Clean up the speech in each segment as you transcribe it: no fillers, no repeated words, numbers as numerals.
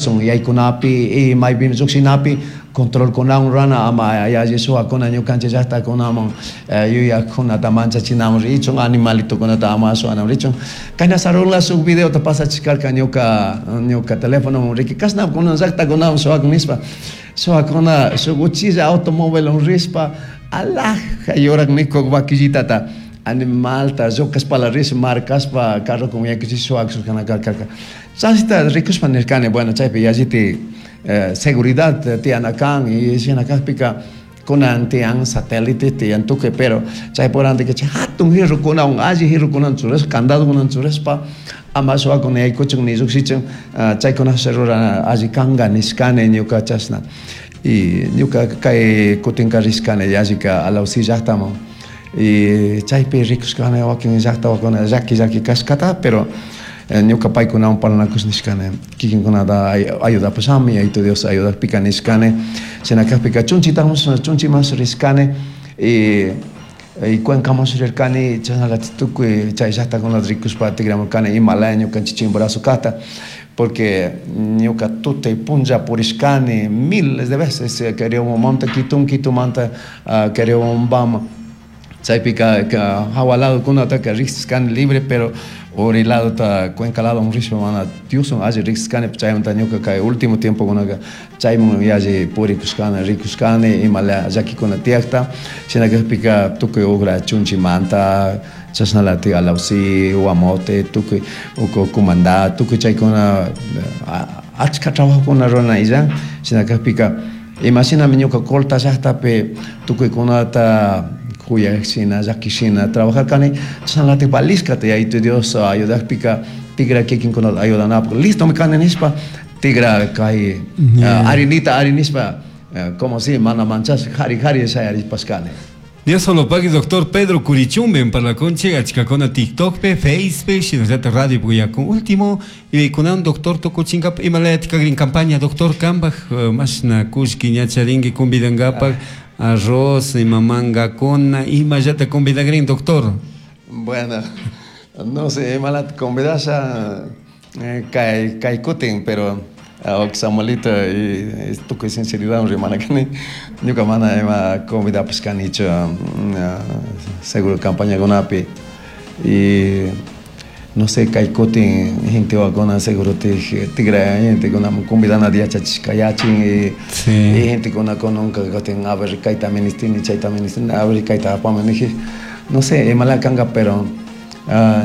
Chimborazo yaykunapi y maypimi llukshinapi controlkunawan rurana ama yalli shuwakuna ñukanchik llaktakunaman yuyakkunata manchachinaman richun, animalitokunata ama shuwanaman richun. Kayna Sarula shuk videota pasachishkarka ñuka ñuka telefonoman riki kashna kunan llaktakunaman shuwakun nishpa, shuwakuna shuk uchilla automóvilwan rishpa alhaja yurak nikuk vaquillitata animalta llucashpala rish marcashpa carrokun yaykuchish shuwakushkana karka. Chashta rikushpa nirkani, bueno, chaypi yalliti seguridad tiyana kan y shina kakpika kunan tiyan satélite tiyan tukuy, pero chaypuk randika chay hatun jirrukunawan alli jirrukunawan churashpa candadokunawan churashpa ama shuwakun yaykuchun ni llukshichun, chaykunash rurana alli kanga nishkani ñuka chashna. Y ñuka kay kutinka rishkani yallika Alausí llaktaman y chaypi rikushkani wakin llakta llaki llaki kashkata, pero ñuka paykunawan parlanakush nishkani kikinkunata ayudapashami Yayitu Dios ayudakpika nishkani. Shina kakpika chunchitamush chunchimash rishkani y Cuencamansh rirkani, chashnalatik tukuy chay llaktakunata rikushpa tikramurkani imalaya ñukanchik Chimborazo kakta, porque ñuka tutay punlla purishkani miles de veces Quereobamanta Quitun, Quitumanta Quereobambama, chaypika jawa ladokunataka riksishkani libre, pero uri ladota Cuenca ladoman rishpa mana Dioswan alli riksishkani. Chaymanta ñuka kay último tiempokunaka chayman yalli purikushkani, rikushkani imala llakikuna tiyakta. Shina kakpika tukuy ugra chunchimanta chashnalatik Alausí, Guamote, tukuy uku Cumandá, tukuy chaykuna achka trabajokuna rurana illan. Shina kakpika imashinami ñuka Colta llaktapi tukuykunata kuyak shina llaki shina trabajarkani, chashnalatik valishkata Yayitu Dios ayudakpika tigra kikinkunata ayudanapak listomi kani nishpa tigra kay arinita ari nishpa como si mana manchash kari kari shayarishpashkani. Dios solo pagui doctor Pedro Curichumbe en parlaconche achkakuna TikTokpe, Facepe, shinallata radio puyakun. Último, kunan doctor tukuchinkapa imalayati kagrin campaña doctor kambaj mashna kullki ña charinki convidankapak arroz ima mangakuna imallata convidagrin doctor. Bueno, no sé imalata convidasha kay kay kutin, pero Samuelito y tukuy sinceridad rimana kani, ñuka mana ima convidapash kanichu seguro campañakunapi y no sé kay kutin gentewakuna seguro tigra gentekuna convidanata yachachishka yachin y gentekuna kunanka kutin a ver kayta ministini chayta ministini a ver kayta apami niji, no sé imala kanka, pero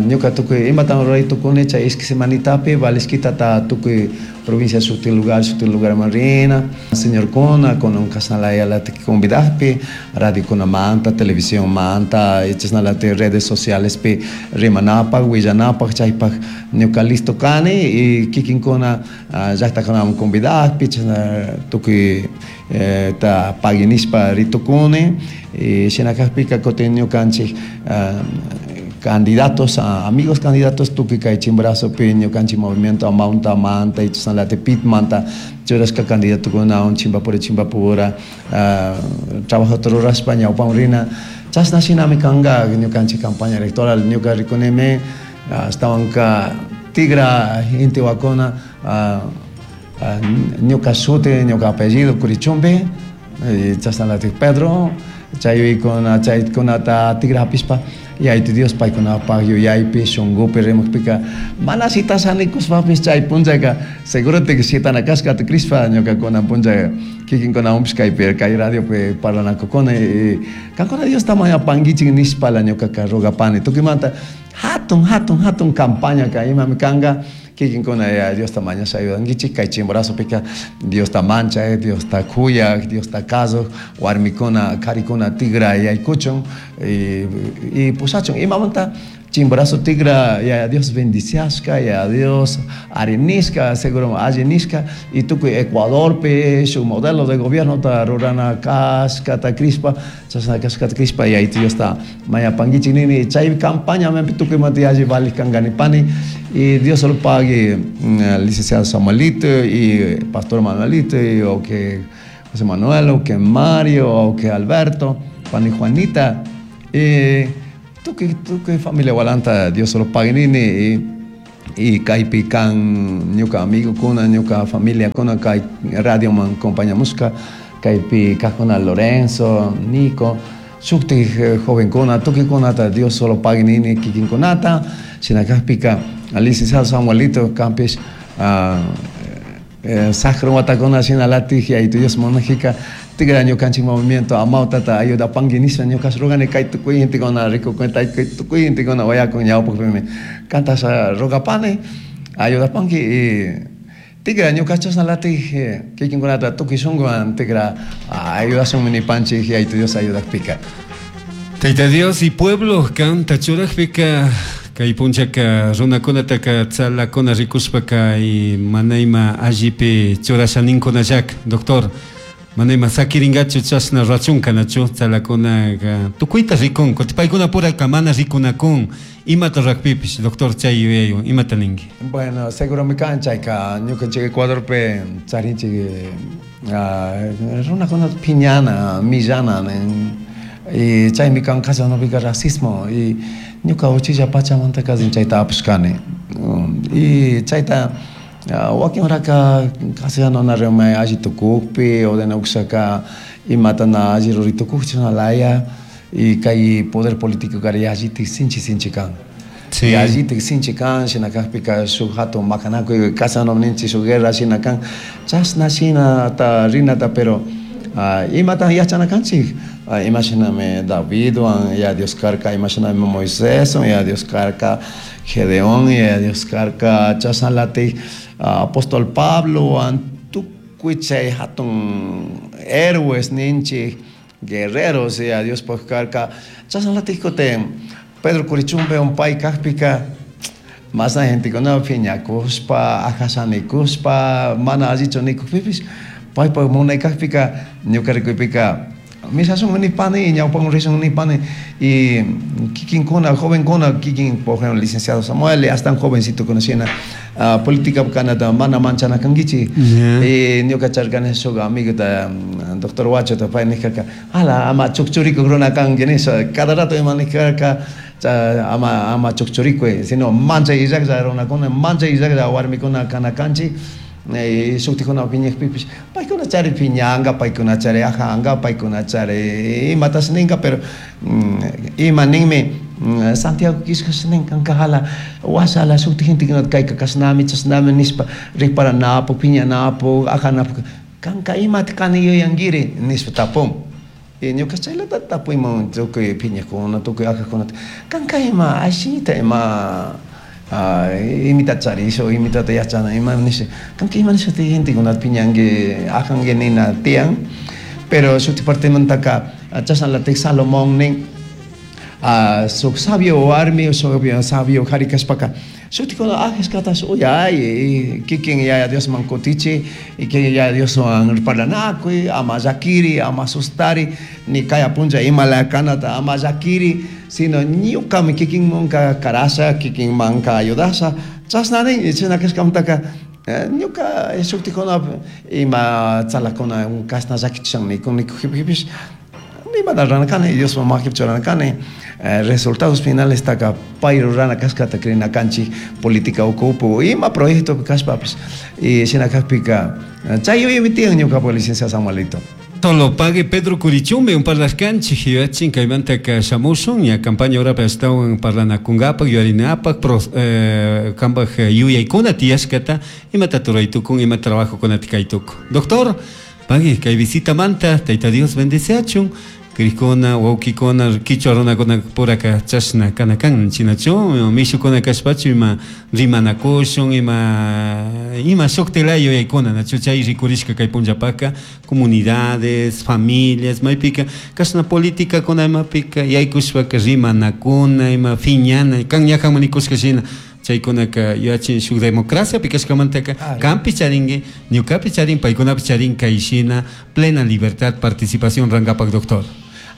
ñuka tukuy imata ruray tukuni chay ishki semanitapi valishkitata tukuy provincia shuti lugar shuti lugarman rina señorkuna kunan kashnalatik convidakpi radiokunamanta televisionmanta chashnalatik redes socialespi rimanapak willanapak chaypak ñuka listo kani y kikinkuna llaktakunaman convidakpi chashna tukuy ta pagui nishpa ritukuni. Y shina kakpika kutin ñukanchik candidatos, amigos candidatos tukuy kay Chimborazopi ñukanchik movimiento Amauta manta y chashnalatik Pitmanta churashka candidatokunawan Chimbapura Chimbapura trabajota rurashpa ñawpaman rina chashna shinami kanka ñukanchik campaña electoral. Ñuka rikunimi ashtawanka tigra intiwakuna ñuka shuti ñuka apellido Curichumbe y chashnalatik Pedro chaykuna chaykunata tigra hapishpa Yayitu Dios paykunapak yuyaypi shunkupi rimakpika mana shitasha nikushpapish chay punllaka segurotik shitana kashkata crishpa ñuka kunan punlla kikinkunawanpish kaypi kay radiopi parlanakukuni y kankuna Diosta mañapankichik nishpala ñukaka rogapani tukuymanta hatun hatun hatun campañaka imami kanka kikinkuna Diosta mañasha ayudankichik kay Chimborazopika Diosta manchak, Diosta kuyak, Diosta kasuk warmikuna karikuna tigra yaykuchun y pushachun imamanta Chimborazo tigra Yaya Dios bendiciashka, Yaya Dios arinishka, seguro alli nishka y tukuy Ecuadorpi shuk modelo de gobiernota rurana kashkata crishpa chashna kashkata crishpa Yayitu Diosta mañapankichik nini chay campaña tukuymanta yalli valik kanka nipani. Y Dios solo pague licenciado Samuelito y pastor Manuelito y o que José Manuel o que Mario o que Alberto, Juan y Juanita. Y tukuy familia walanta Dios solo pague nini y Y kaypi kan ñuka amigokuna, ñuka familiakuna kay radioman compañamushka, kaypi kajkuna Lorenzo, Nico, shuktik jovenkuna, tukuykunata Dios solo pague nini kikinkunata, shina kajpika licenciado Samuelito kampish sajra watakuna shinalatik Yayitu Dios munajika tigra ñukanchik movimiento amawtata ayudapanki nisha ñukash rogani kay tukuy gentekuna rikukun kay tukuy gentekuna uyakun ñawpakpimi kantasha rogapani ayudapanki y tigra ñuka chashnalatik kikinkunata tukuy shunkuwan tigra ayudashunmi nipanchik Yayitu Dios ayudakpika. Tayta Dios y pueblo kanta churajpika kay punchaka runakunataka tzalakuna rikushpaka y mana ima allipi churashaninkunallaka doctor mana ima sakirinkachu chashna rurachunka nachu tzalakunaka tukuyta rikun kutin paykuna puraka mana rikunakun imata rurakpipish doctor chay yuyaywan imata ninki. Bueno, seguromi kan chayka ñukanchik Ecuadorpi charinchik runakunata phiñana, millana nin y chaymi kan kashanapika racismo y ñuka uchilla pachamanta kazin chayta apashkani y chayta wakin horaka castellano na rimay alli tukukpi o de nuksaka imata na alli ruri tukuk chashna laya y kay poder político kari yallitik sinchi sinchi kan. Sí. Yallitik sinchi kan, shina kakpika shuk hatun makanakuy castellano ninchik shuk guerra shina kan, chashna shinata rinata pero imata yachana kanchik, ima shinami Davidwan ya Dios karka, ima shinami Moiséswan ya Dios karka, Gedeón ya Dios karka, chashnalatik apóstol Pablowan tukuy chay hatun héroes ninchik, guerreros ya Diospaj karka, chashnalatik kutin Pedro Curichumbe un pay kakpika masna gentekuna phiñakushpa, ajasanikushpa, mana allichu nikukpipish paypak munay kakpika ñuka rikuypika mishashun nipani, ñawpaman rishun nipani y kikinkuna, jovenkuna, kikin por ejemplo licenciado Samuel, hasta jovencito shina política kanata mana manchana kankichik. Y ñuka charkani shuk amigota doctor Huachota pay nijkarka ala ama chukchurikuk runa kanki nisha cada rato ima nijkarka ama ama chukchurikuy sino manchay illaklla runakuna, manchay illaklla warmikuna kana kanchik shuktikuna phiñakpipish paykuna chari phiñanka, paykuna chari ajanka, paykuna chari imatash ninka pero ima ninmi Santiago kishkash nin kanka jala washala shuktik gentekunata kayka kashnami chashnami nishpa riparanapuk, phiñanapuk, ajanapuk kanka imata kani yuyankiri nishpa tapun. Y ñuka chaylata tapuyman tukuy phiñakuna, tukuy ajakunata kanka ima ashita ima imitata charisha o imitata yachana ima nisha kanka ima nisha gentekunata phiñanki ajanki nina tiyan pero shuktik partemantaka chashnalatik Salomón nin shuk sabio warmi, shuk sabio kari kashpaka shutikuna ajashkatash uyay kikin Yaya Diosman kutichi y kikin Yaya Dioswan parlanakuy ama llakiri, ama sustari ni kaya punlla ima laya kanata ama llakiri sino ñukami kikinmanka karasha, kikinmanka ayudasha chashna nin chashna kashkamantaka ñuka shuktikuna ima tzalakuna kashna llakichishan nikun nikujpipish nimata rurana kani Diosman makipi churana kani resultados finales taka pay rurana kashkata crina kanchik política ukupi ima proyectopi kashpapish y shina kakpika chay yuyaymi tiyan ñukapak licenciado Samuelito. Solo pague Pedro Curichumbe un parlaskanchik yuyachin kaymantaka shamushun ña campaña horapi ashtawan parlanakunkapak yuyarinapak kanpak yuyaykuna tiyashkata imata ruraytukun ima trabajokunata kaytukun. Doctor, pague kay visitamanta Tayta Dios bendeciachun Crikuna, wawkikuna, kichwa runakuna puraka chashna kana kan chinachu mishukuna kashpachu ima rimanakushun ima ima shuktilaya yuyaykuna nachu chay rikurishka kay punllapaka comunidades, familias maypika kashna politikakuna imapika yaykushpaka rimanakuna ima phiñana kan ñajanman nikushka shina chaykunaka yuyachin shuk democraciapi kashkamantaka kanpi charinki ñukapi charin paykunapi charin kay shina plena libertad participación rankapak doctor.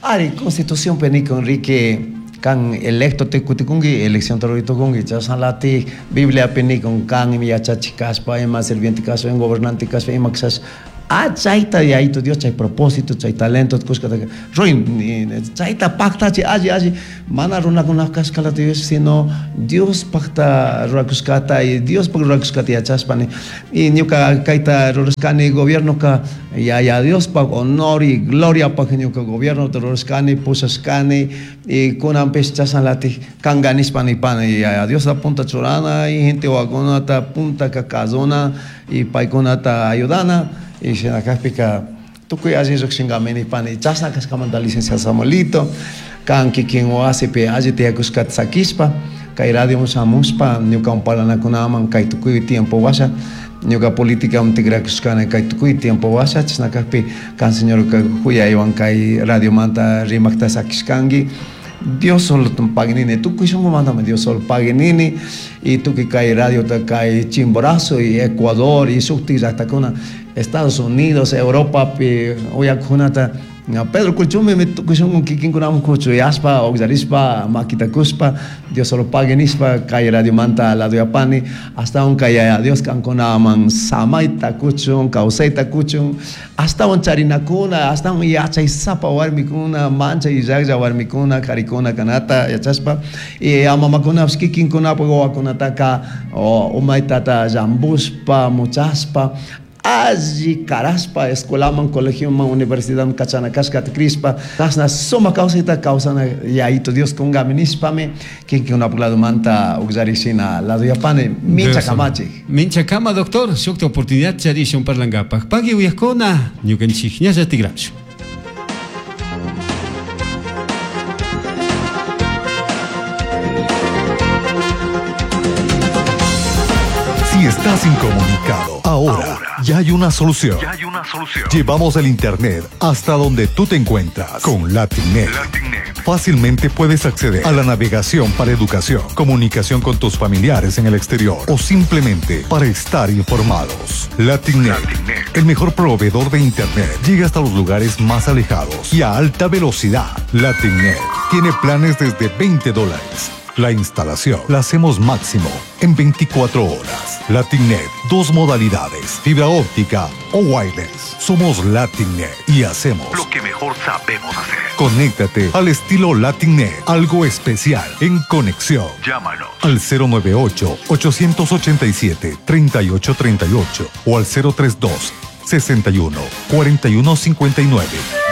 Ari, Constitución nikun Enrique Kan electo tukutikunki, elección ruritukunki, chashnalatik Bibliapi nikun kan ima yachachik kashpa, ima sirviente kashpa, ima gobernante kashpa, ima kashpa, chayta Yayito Dios chay propósito, chay talento kushkataka ruin, chayta paktachi alli alli mana runakunapaj kashkalata Dios, sino Diospajta rurakushkata y Diospaj rurakushkata yachashpani y ñuka kayta rurashkani gobiernoka Yaya Diospaj honor y gloriapaj ñuka gobiernota rurashkani, pushashkani y kunanpish chashnalatik kanga nishpa nipani Yaya Diosta punta churana y gente wawakunata puntaka kazuna y paykunata ayudana y shina kajpika tukuy alli llukshinkami nipani. Chashna kashkamanta licenciado Samuelito kan kikin wasipi alli tiyakushkata sakishpa kay radio shamushpa ñukawan parlanakunaman kay tukuy tiempo washa ñuka politicaman tikrakushkani kay tukuy tiempo washa chashna kajpi kan señorka huyaywan kay radiomanta rimakta sakishkanki. Dios solo paguinini, tukuy shunqumantami Dios solo paguinini y tukuy kay radiota kay Chimborazo y Ecuador y shuktik llaktakuna Estados Unidos, Europapi uyakunata Pedro Curichumbe tukuy shunqu kikinkunaman kuchuyashpa ukllarishpa makitakushpa Dios solo paguinishpa kay radiomanta ladoyapani ashtawan kay Yaya Dios kankunaman samayta kuchun, kawsayta kuchun, ashtawan charinakuna, ashtawan yachaysapa warmikuna, manchay llaklla warmikuna, karikuna kanata yachashpa y mamakunapish kikinkunapak wawakunataka umaytata llambushpa, muchashpa, alli karashpa escuelaman, colegioman, universidadman kachana kashkata crishpa chashna sumak kawsayta kawsana Yayito Dios kunkami nishpami kikinkunapak ladomanta ukllarishina ladoyapani mincha kamachik. Mincha kama doctor, shukta oportunidad charishun parlankapak. Pagui uyakuna ñukanchik ñalla tigrashun. Si estás incomunicado, ahora ya hay una solución. Ya hay una solución. Llevamos el internet hasta donde tú te encuentras con LatinNet. LatinNet. Fácilmente puedes acceder a la navegación para educación, comunicación con tus familiares en el exterior o simplemente para estar informados. LatinNet, LatinNet. el mejor proveedor de internet, llega hasta los lugares más alejados y a alta velocidad. LatinNet tiene planes desde veinte dólares. La instalación la hacemos máximo en 24 horas. LatinNet, dos modalidades, fibra óptica o wireless. Somos LatinNet y hacemos lo que mejor sabemos hacer. Conéctate al estilo LatinNet, algo especial en conexión. Llámanos al cero nueve ocho, ochocientos ochenta y siete, treinta y ocho treinta y ocho o al cero tres dos, sesenta y uno, cuarenta y uno cincuenta y nueve.